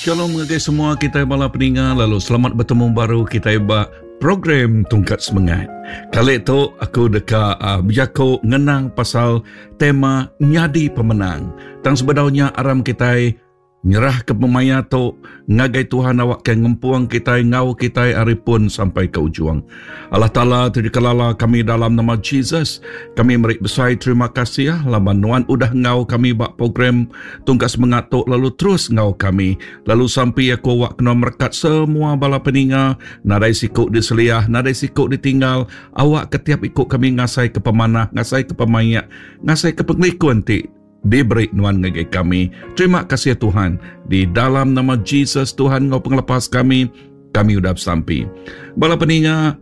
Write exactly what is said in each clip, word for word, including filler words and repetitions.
Shalom ngagai semua kita bala peninga lalu selamat betemu baru kita ba program Tungkat Semengat. Kali tu aku deka uh, bejaku ngenang pasal tema nyadi pemenang. Tang sebedaunya aram kita nyerah ke pemaya tu ngagai Tuhan awak ke ngempung kita ngau kita ari pun sampai ke ujung. Allah Taala dikelala kami dalam nama Jesus. Kami meri besai terima kasih laban nuan udah ngau kami ba program Tungkat Semengat tu lalu terus ngau kami. Lalu sampai aku awak kena merekat semua bala peninga, nadai siku diseliah, nadai siku ditinggal. Awak ketiap ikut kami ngasai ke pemanah, ngasai ke pemayak, ngasai ke pengelikun ti diberi nuan ngagai kami. Terima kasih Tuhan. Di dalam nama Jesus Tuhan ngau pengelepas kami, kami udah bersampi. Bala peninga,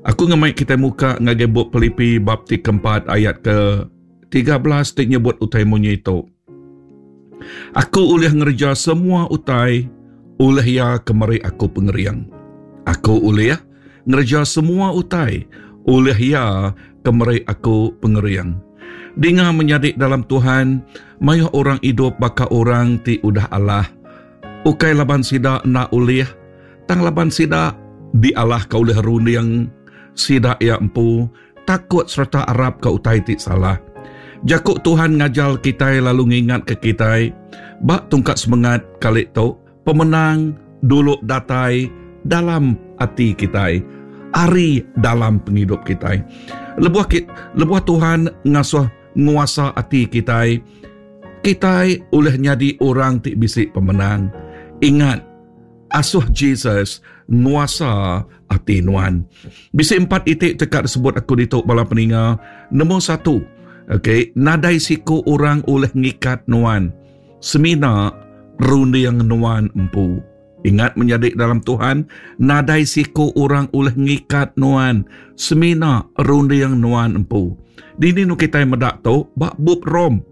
aku ngemai kita muka ngagai bup Pilipi bab ti keempat ayat ke tiga belas ti nyebut utai munyi itu. Aku ulih ngerja semua utai oleh ia kemeri aku pengeriang. Aku ulih ngerja semua utai oleh ia kemeri aku pengeriang. Dengar menyadik dalam Tuhan, mayuh orang hidup baka orang ti udah Allah. Ukai laban sida nak ulih, tang laban sida di Allah ka ulih runding, sida ia empu, takut serta arap ka utai ti salah. Jakuk Tuhan ngajal kita lalu ngingat ke kita, bak tungkat semangat kali tu, pemenang dulu datai dalam hati kita, ari dalam penghidup kita. Lebuh ki, lebuh Tuhan ngasuh nguasa hati kita, kita oleh nyadi orang ti bisi pemenang. Ingat, asuh Jesus nguasa hati nuan. Bisi empat itik tekak disebut aku dituk bala peninga. Nombor satu, okey, nadai siku orang oleh ngikat nuan. Semina runding nuan empu. Ingat menyadik dalam Tuhan, nadai siku orang oleh ngikat nuan. Semina runding nuan empu. Dini nu kita medak tu, bak bub Rom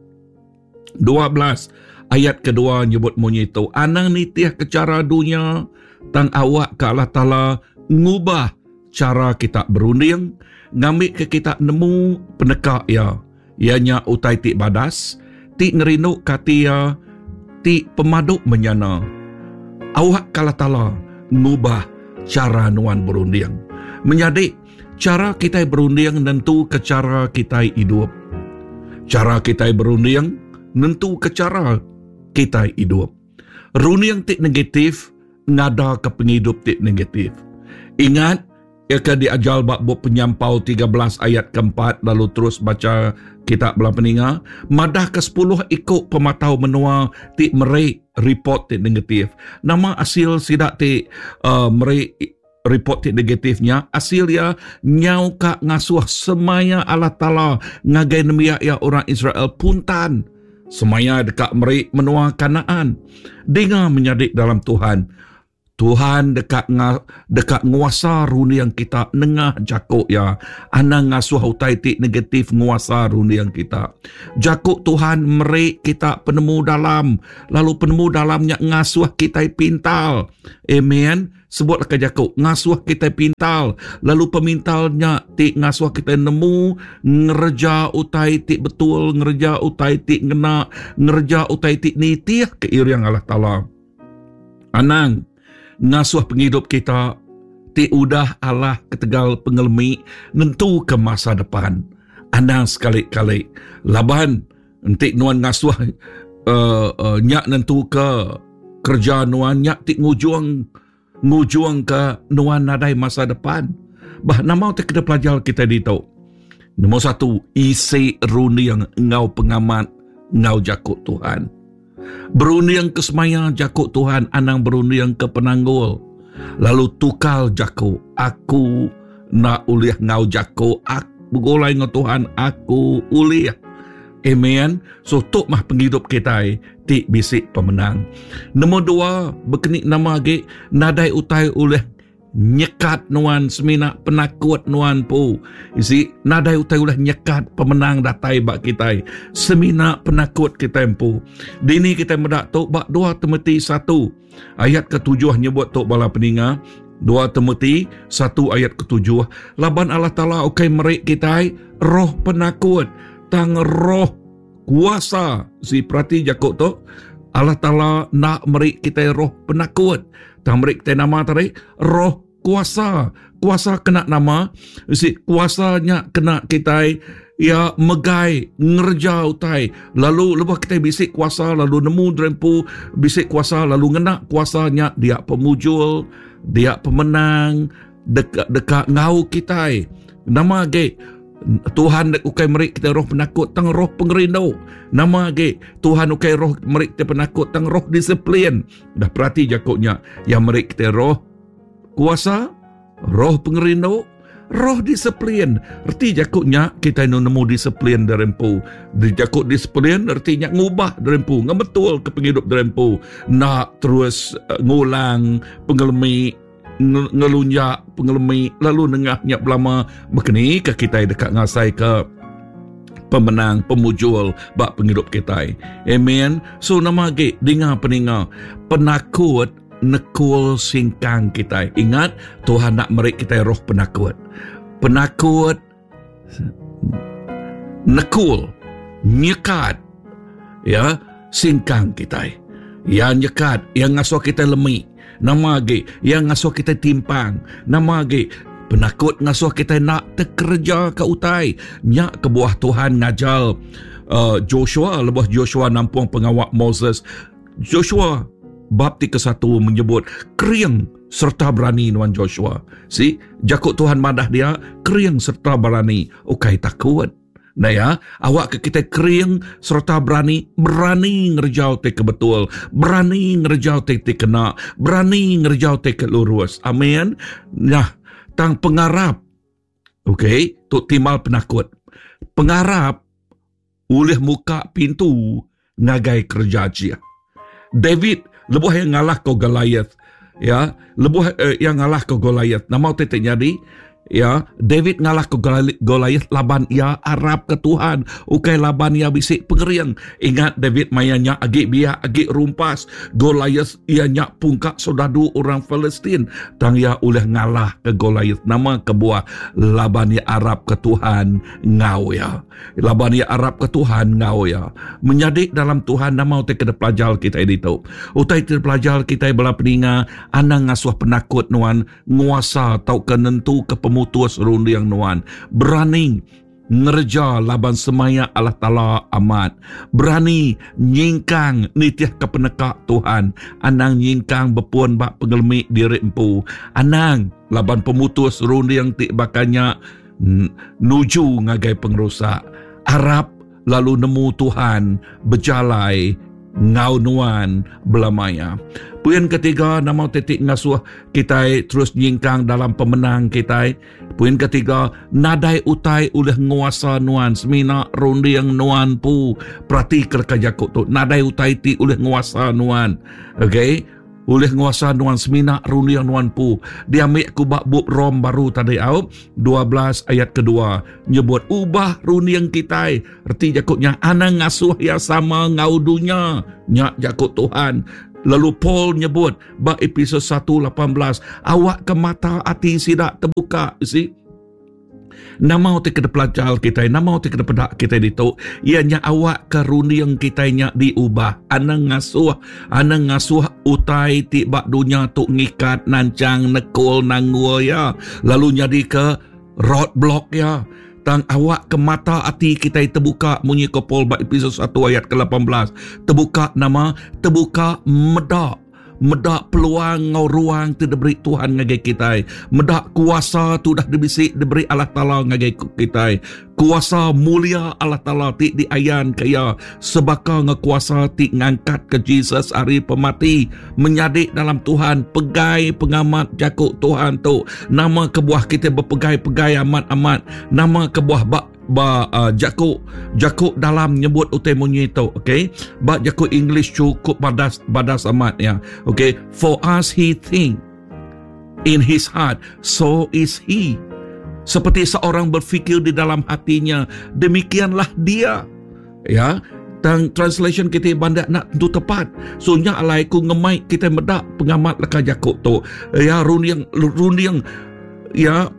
dua belas ayat kedua nyebut munyi tu, anang nitih ke cara dunia, tang awak ke Allah Taala ngubah cara kita berunding, ngambil ke kita nemu peneka ia. Ianya utai ti badas, ti ngerinduk kati ia, ti pemaduk menyana. Awak ke Allah Taala ngubah cara nuan berunding. Menyadik, cara kita berunding nentu ke cara kita hidup. Cara kita berunding nentu ke cara kita hidup. Runding ti negatif ngada ke penghidup ti negatif. Ingat, ia ke diajal bab bup Penyampau tiga belas ayat keempat lalu terus baca kitab belah peninga, madah ke sepuluh ikut pematau menua ti meri report ti negatif. Nama hasil sidak ti, uh, meri report ti negatifnya, hasil ia nyau ka ngasuh semaya Allah Taala ngagai nembiak ia orang Israel puntan. Semaya dekat meri menua Kanaan. Dengar menyadik dalam Tuhan. Tuhan dekat nga, dekat nguasa runding kita nengah jakuk ya. Anang ngasuh utai ti negatif nguasa runding kita. Jakuk Tuhan meri kita penemu dalam, lalu penemu dalamnya ngasuh kita pintal. Amen. Sebutlah ke jakuk, ngasuh kita pintal, lalu pemintalnya ti ngasuh kita nemu ngereja utai ti betul, ngereja utai ti ngena, ngereja utai ti nitih ke iriang Allah Taala. Anang ngasuh penghidup kita ti udah Allah ketegal pengelemi nentu ke masa depan. Anang sekali-kali laban entik nuan ngasuh, uh, uh, nyak nentu ke kerja nuan nyak ti ngujung ngujung ke nuan nadai masa depan. Bah nama ti kena pelajar kita ditu. Nombor satu, isi runding ngau pengamat ngau jakuk Tuhan. Berunding ke semaya jakuk Tuhan, anang berunding ke penanggul. Lalu tukal jakuk, aku nak ulih ngau jakuk, aku bergulai ngau Tuhan, aku ulih. Amen. So tok mah penghidup kita ti bisik pemenang. Nombor dua, berkenik nama agi nadai utai ulih nyekat nuan semina penakut nuan pu. Isi nadai utai ulih nyekat pemenang datai bak kita semina penakut kita empu. Dini kita medak tok bak dua Timothy satu ayat ketujuh nyebut tok bala peninga. Dua Timothy satu ayat ketujuh, laban Allah Taala ukai merik kita roh penakut tang roh kuasa. Si perhati Jakub tu Allah Taala nak meri kita roh penakut. Tang meri kita nama tadi roh kuasa. Kuasa kena nama, si kuasanya kena kita ya megai ngerja utai. Lalu lebuh kita bisik kuasa lalu nemu derempu bisik kuasa lalu ngena kuasanya dia pemujul, dia pemenang dekat dekat ngau kita. Nama ge Tuhan ukai meri kita roh penakut tang roh pengerindu. Nama ge Tuhan ukai roh meri kita penakut tang roh disiplin. Dah perhati jakuknya yang meri kita roh kuasa, roh pengerindu, roh disiplin. Erti jakuknya kita nemu disiplin derempu. Di jakuk disiplin ertinya ngubah derempu, ngebetul ke penghidup derempu. Nak terus uh, ngulang pengelemi ngelunjak pengelemi lalu nengahnya belama berkeni ke kita dekat ngasai ke pemenang pemujul bak penghidup kita. Amen. So nama ge dengar peninga penakut nekul singkang kita. Ingat Tuhan nak meri kita roh penakut. Penakut nekul nyekat ya singkang kita. Ya nyekat yang ngasuh kita lemi. Nama ge yang ngasuh kita timpang. Nama ge penakut ngasuh kita nak terkerja ke utai. Nyak kebuah Tuhan ngajal uh, Joshua lebuh Joshua nampung pengawak Moses. Joshua bab tiga satu menyebut kering serta berani nuan Joshua. Si jakuk Tuhan madah dia kering serta berani ukai takut. Nah ya, awak ke kita kering serta berani, berani ngerjau te ke betul, berani ngerjau te te kena, berani ngerjau te ke lurus. Amin. Nah, tang pengarap. Okey, tu timal penakut. Pengarap ulih muka pintu ngagai kerja cia. David lebuh yang ngalah ke Goliath, ya, lebuh eh, yang ngalah ke Goliath. Nama te te jadi ya, David ngalah ke Goliath laban ia arab ke Tuhan. Ukai laban ia bisik pengeriang. Ingat David mayanya agi biak agi rumpas. Goliath ia nyak pungkak sodadu orang Palestin. Tang ia oleh ngalah ke Goliath. Nama kebuah laban ia arab ke Tuhan ngau ya. Laban ia arab ke Tuhan ngau ya. Menyadik dalam Tuhan nama utai kena pelajar kita itu. Utai kena pelajar kita bela peninga anang ngasuh penakut nuan nguasa tau ke nentu ke pemutus rundiang nuan. Berani ngerja laban semaya Allah Ta'ala amat. Berani nyingkang nitih ke penekak Tuhan. Anang nyingkang bepun bak pengelmi diri empu. Anang laban pemutus rundiang tik bakanya nuju ngagai pengrusak. Arab lalu nemu Tuhan berjalai ngau nuan belamaya. Poin ketiga nama titik ngasuh kita terus nyingkang dalam pemenang kita. Poin ketiga nadai utai oleh nguasa nuan semina rundiang nuan pu. Perhati kerja jakuk tu nadai utai ti oleh nguasa nuan. Okey, oleh nguasa nuan semina rundiang nuan pu. Dia ambil ku bab bub Rom baru tadi au dua belas ayat kedua nyebut ubah rundiang kita. Erti jakuknya anang ngasuh ya sama ngau dunya nyak jakuk Tuhan. Lalu Paul nyebut bab episode satu lapan belas awak ke mata hati sidak terbuka. See? Nama uti kena pelajar kita, nama uti kena pedak kita ditu, ianya awak ke runding kita nya diubah. Anang ngasuh, anang ngasuh utai ti bak dunia tu ngikat, nancang, nekul, nanggul ya. Lalu jadi ke roadblock ya. Tang awak ke mata hati kita terbuka munyi ke Paul bak episode satu ayat ke lapan belas. Terbuka nama, terbuka medak. Medak peluang ngau ruang tu diberi Tuhan ngagai kita. Medak kuasa tu dah dibisik diberi Allah Taala ngagai kita. Kuasa mulia Allah Taala ti diayan kaya sebaka ngau kuasa ti ngangkat ke Jesus hari pemati. Menyadik dalam Tuhan, pegai pengamat jakuk Tuhan tu. Nama kebuah kita berpegai-pegai amat-amat. Nama kebuah bak ba uh, jakuk jakuk dalam nyebut utai munyi tu, okey. Ba jakuk English cukup badas badas amat ya. Okey, for us he think in his heart, so is he. Seperti seorang berfikir di dalam hatinya, demikianlah dia. Ya, tang translation kita bandak nak tentu tepat. So nya alai ku ngemai kita medak pengamat leka jakuk tu. Ya, runding runding ya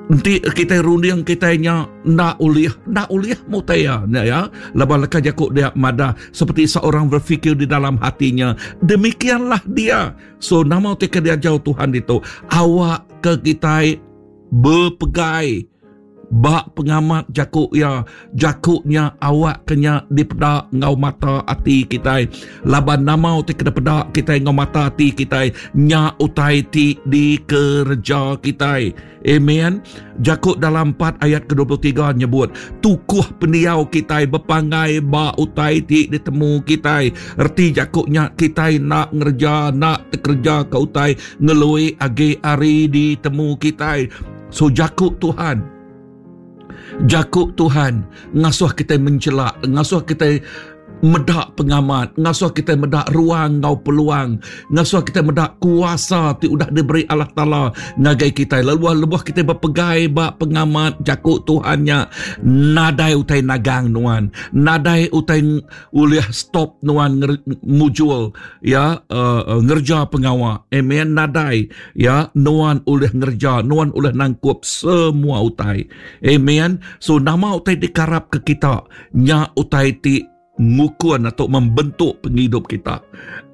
Enti kita runding kita nya ndak ulih, ndak ulih mutaya ya. Laban leka jaku dia madah seperti seorang berfikir di dalam hatinya, demikianlah dia. So nama ti ke diajar Tuhan itu, awak ke kita berpegai bak pengamat jakuk ya, jakuknya awak kenya dipedak ngau mata ati kita. Laban nama ti kena pedak kita ngau mata ati kita, nya utai ti dikerja kita. Amen. Jakuk dalam empat ayat ke dua puluh tiga nyebut tukuh pendiau kita berpangai ba utai ti ditemu kita. Erti jakuknya kita nak ngerja, nak terkerja ke utai ngelui agi hari ditemu kita. So jakuk Tuhan, Jakuk Tuhan ngasuh kita mencelak, ngasuh kita medak pengamat, ngasuh kita medak ruang ngau peluang, ngasuh kita medak kuasa ti udah diberi Allah Taala ngagai kita. Lalu lebuh kita berpegai ba pengamat jakuk Tuhannya, nadai utai nagang nuan, nadai utai ulih stop nuan nger, mujul ya uh, uh, ngerja pengawa. Amen. Nadai ya nuan ulih ngerja, nuan ulih nangkup semua utai. Amen. So nama utai dikarap ke kita nya utai ti ngukun atau membentuk penghidup kita.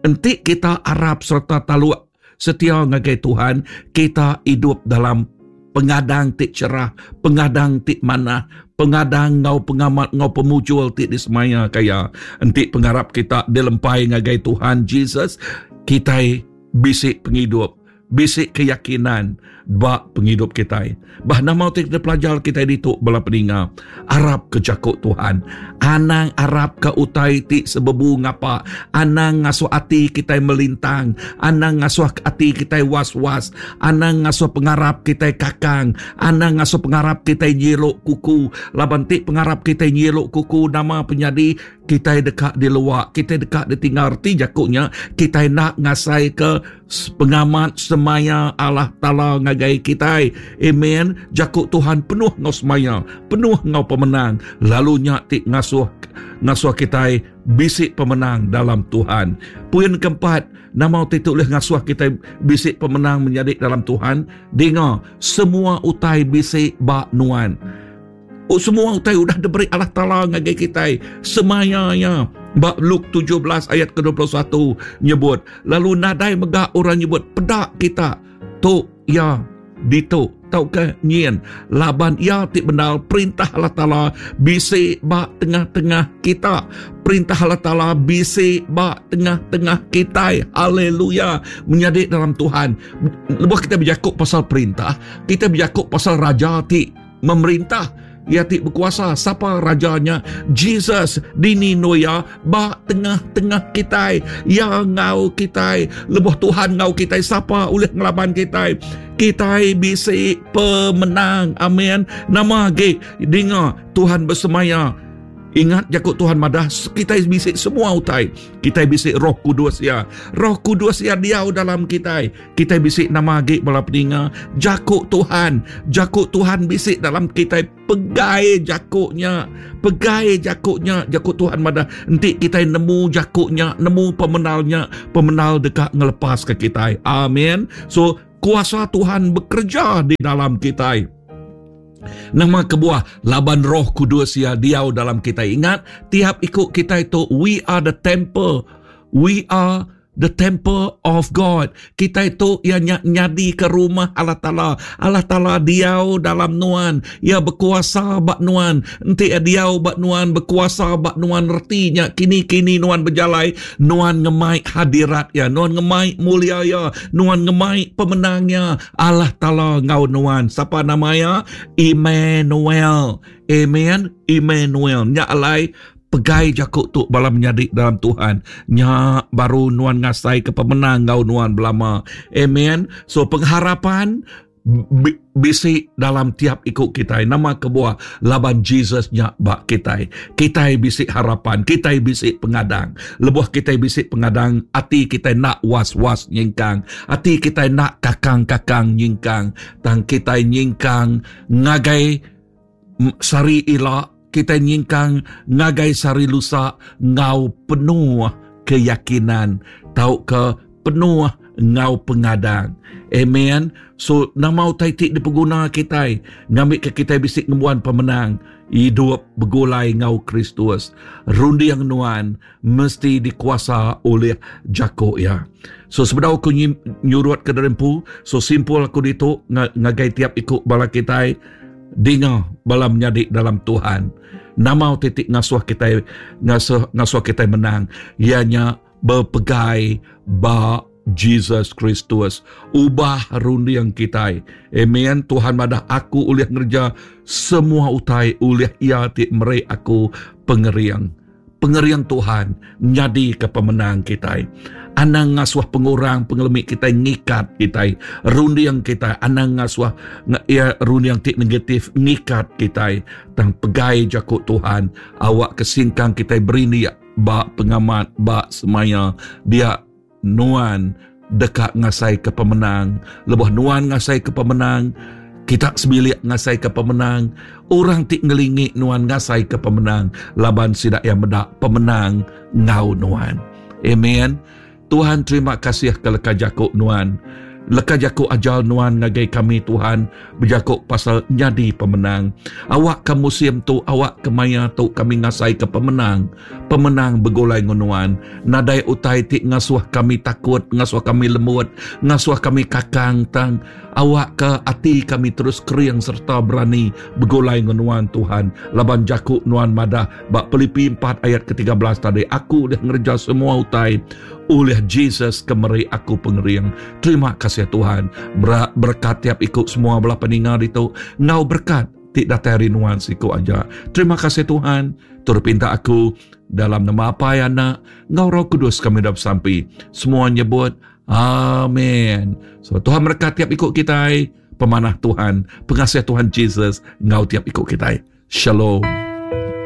Enti kita arap serta taluk setia ngagai Tuhan, kita hidup dalam pengadang ti cerah, pengadang ti manah, pengadang ngau pengamat ngau pemujul ti disemaya kaya. Enti pengarap kita dilempai ngagai Tuhan Jesus, kita bisik penghidup, bisik keyakinan bak penghidup kita. Bah nama ti kita pelajar kita ditu bala peninga, arap ke jakuk Tuhan. Anang arap ke utai ti sebebu ngapa, anang ngasuh ati kita melintang, anang ngasuh ati kita was-was, anang ngasuh pengarap kita kakang, anang ngasuh pengarap kita nyelok kuku. Laban ti pengarap kita nyelok kuku, nama penyadi kita dekat di luar, kita dekat ditinggal. Erti jakuknya kita nak ngasai ke pengamat semaya Allah Taala ngagai kita. Amen. Jakuk Tuhan penuh ngau semaya, penuh ngau pemenang. Lalu nya ti ngasuh ngasuh kita bisik pemenang dalam Tuhan. Poin keempat, nama ti tulih ngasuh kita bisik pemenang menjadi dalam Tuhan. Dengar, semua utai bisik bak nuan. Oh, semua utai udah diberi Allah Taala ngagai kita. Semayanya bab Luke tujuh belas ayat ke dua puluh satu nyebut, lalu nadai megak orang nyebut pedak kita tu ya ditu tau ke nyin, laban ia ti benar perintah Allah Taala bisi ba tengah-tengah kita. Perintah Allah Taala bisi ba tengah-tengah kita. Haleluya. Menyadi dalam Tuhan, lebuh kita berjakuk pasal perintah, kita berjakuk pasal raja ti memerintah, ia ti berkuasa. Siapa rajanya? Jesus. Dini noya ba tengah-tengah kita. Ya ngau kita. Lebuh Tuhan ngau kita, siapa ulih ngelaban kita? Kita bisi pemenang. Amin. Nama ge dengar Tuhan bersemaya. Ingat jakuk Tuhan madah kita bisi semua utai. Kita bisi Roh Kudus ya. Roh Kudus ya diau dalam kita. Kita bisi nama agi bala peninga jakuk Tuhan. Jakuk Tuhan bisi dalam kita. Pegai jakuknya, pegai jakuknya. Jakuk Tuhan madah enti kita nemu jakuknya, nemu pemenalnya, pemenal dekat ngelepas ke kita. Amin. So kuasa Tuhan bekerja di dalam kita. Nama kebuah laban Roh Kudus ya diau dalam kita. Ingat, tiap ikut kita itu, we are the temple. We are the temple of God. Kita itu ia nyadi ke rumah Allah Taala. Allah Taala diau dalam nuan. Ia berkuasa bak nuan. Enti ia diau bak nuan, berkuasa bak nuan, ertinya kini-kini nuan berjalai, nuan ngemai hadirat ya, nuan ngemai mulia ya, nuan ngemai pemenangnya. Allah Taala ngau nuan. Siapa namanya? Emmanuel. Amen. Emmanuel. Nya alai pegai jakuk tu bala menyadi dalam Tuhan. Nya baru nuan ngasai ke pemenang ngau nuan belama. Amen. So pengharapan bisi dalam tiap ikut kita. Nama kebuah laban Jesus nya bak kita. Kita bisi harapan, kita bisi pengadang. Lebuh kita bisi pengadang, ati kita nak was-was nyingkang. Ati kita nak kakang-kakang nyingkang. Tang kita nyingkang ngagai sari ila, kita nyingkang ngagai sari lusa ngau penuh keyakinan, tau ke penuh ngau pengadang. Amen. So nama utai ti dipeguna kitai ngambika kitai bisi ngembuan pemenang hidup begulai ngau Kristus. Runding nuan mesti dikuasa oleh jako ya. So sebedau aku nyurut ke derempu, so simpul aku ditu ngagai tiap ikut bala kitai dinga bala menyadi dalam Tuhan. Nama utai ti ngasuh kitai ngasuh ngasuh kitai menang ianya berpegai ba Jesus Kristus. Ubah runding kitai. Amen. Tuhan madah aku ulih ngerja semua utai ulih ia ti meri aku pengering. Pengering Tuhan nyadi ke pemenang kitai. Anang ngasuh pengurang pengelemi kitai ngikat kitai. Runding kitai anang ngasuh ia runding ti negatif ngikat kitai. Tang pegai jako Tuhan awak kesingkang kitai berindik ba pengamat ba semaya dia nuan dekat ngasai ke pemenang. Lebuh nuan ngasai ke pemenang, kita sebilik ngasai ke pemenang, orang ti ngelingi nuan ngasai ke pemenang, laban sidak yang medak pemenang ngau nuan. Amen. Tuhan terima kasih ke leka jakuk nuan. Leka jakuk ajal nuan ngagai kami Tuhan berjakuk pasal nyadi pemenang. Awak ke musim tu, awak ke maya tu kami ngasai ke pemenang. Pemenang begulai ngunuan. Nadai utai ti ngasuh kami takut, ngasuh kami lembut, ngasuh kami kakang tang. Awak ke ati kami terus kering serta berani begulai ngunuan Tuhan. Laban jakuk nuan madah bak Pilipi empat ayat ke tiga belas tadi, aku dah ngerja semua utai oleh Jesus kemeri aku pengering. Terima kasih Tuhan. Berkat tiap ikut semua belah peninga ditu. Ngau berkat ti datai rinuan siku aja. Terima kasih Tuhan. Tur pinta aku dalam nama Apai Anak ngau Roh Kudus kami dah bersampi. Semua nyebut amin. So Tuhan berkat tiap ikut kita. Pemanah Tuhan, pengasih Tuhan Jesus ngau tiap ikut kita. Shalom.